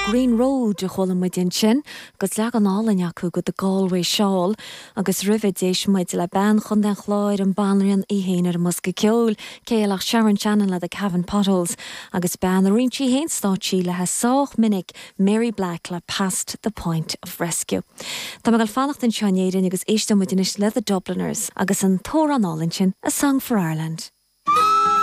Green Road a chuala muid ansin, agus leagan álainn acu de The Galway Shawl, agus roimhe d'éist muid le bean Chontae an Chláir, an Banríon í féin ar an mbosca ceoil, cé eile ach Sharon Shannon le The Cavan Potholes, agus bean a roinn sí féin stáitsí léi sách minic, Mary Black le Past the Point of Rescue. Tá mé ag dul fanacht anseo in Éirinn agus éisteoidh muid anois le The Dubliners agus an t-amhrán álainn sin, A Song for Ireland.